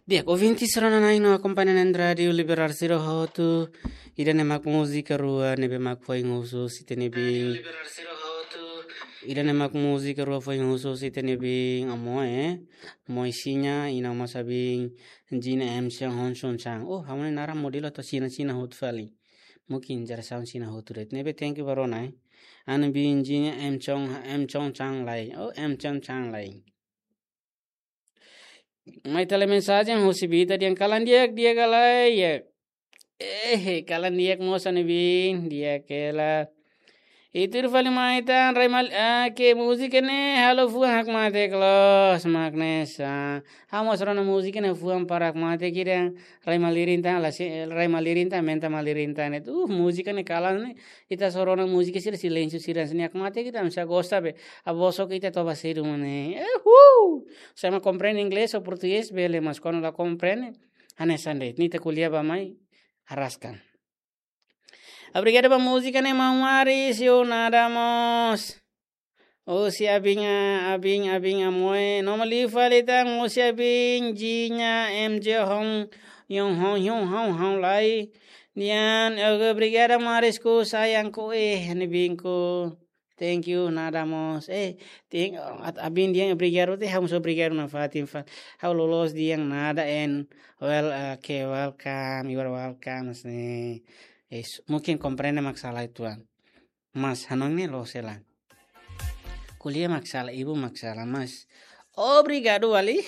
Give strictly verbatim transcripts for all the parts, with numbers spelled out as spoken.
Di'ak, ouvinte sira-nia na'in no akompaña iha rádiu Liberal sira hotu. Ida-ne'e mak múzika rua ne'ebé mak foin husu ita-nia biin. Ida-ne'e mak múzika rua foin husu ita-nia biin Amoe, eh. Amoe Xina, i ha'u-nia biin Jina M Chong Hon Chong Chang. Oh, ha'u-nia naran modelu atu Xina-Xina hotu fali. Mungkin jerasaun Xina hotu de'it. Ne'ebé thank you ba rona, eh. Ha'u-nia biin Jina M Chong, M Chong Chang lai. Oh, M Chong Chang lai. Mai tale mensajen husi Bita dehan kalan di'ak, di'ak ka lae, ya. Eh, kalan di'ak mós ha'u-nia biin, di'ak hela. Ita tuir fali mai tan, rai mal, ah, ke múzika ne'e halo fuan hakmatek loos, mak ne'e sa. Ha'u mós rona múzika ne'e fuan para hakmatek ida, rai malirin tan, la se, rai malirin tan, aumenta malirin tan. Uh, múzika ne'e kalan ne'e, ita só rona múzika sira, silénsiu sira, sini hakmatek ida, misa gosta be. Ha'u bosok ita toba sedu mane. Eh, uh! Se ema komprende inglés ou portugés, bele, mas kuandu la komprende, hanesan de'it. Ita ko'alia bá mai, arraskan. Obrigadu ba múzika ne'e, maun Maris, yo nada mós. Husi ha'u-nia biin, ah, ha'u-nia biin, ha'u-nia biin Amoe. Nomor liu fali tan, husi ha'u-nia biin, Jina, M J Hon, Yon Hon, Yon Hon, Hon lai. Dehan, eh, obrigada Marisku, sayangku, eh, ha'u-nia biinku. Thank you, nada mós. Eh, thank, at-, ha'u-nia biin dehan obrigadu, te ha'u mós obrigadu nafatin fali. Ha'u loloos dehan nada and well, eh, ke welcome, you are welcome, ne'e. Eh, s-, mungkin komprende mak sala uitoan. Mas hanoin ne'e loos hela. Ko'alia mak sala, ibun mak sala, mas obrigadu fali.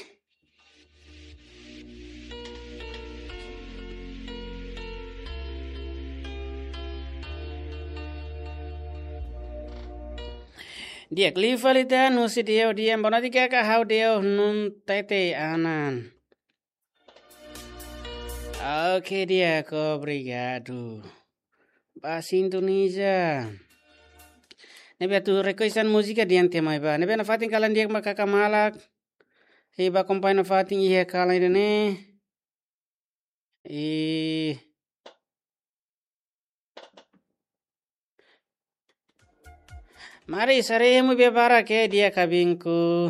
Di'ak, liu fali tan husi Deo dehan, boa noite kaka, ha'u Deo Nun Tete Anan. Oke, di'ak, obrigadu ba sintoniza. Ne'ebé atu requestan múzika dehan te mai bá. Ne'ebé nafatin kalan di'ak ba kaka malak. I bá akompaña nafatin iha kalan ida-ne'e. I Maris, haree hemu bia barak, eh, di'ak ka biinku.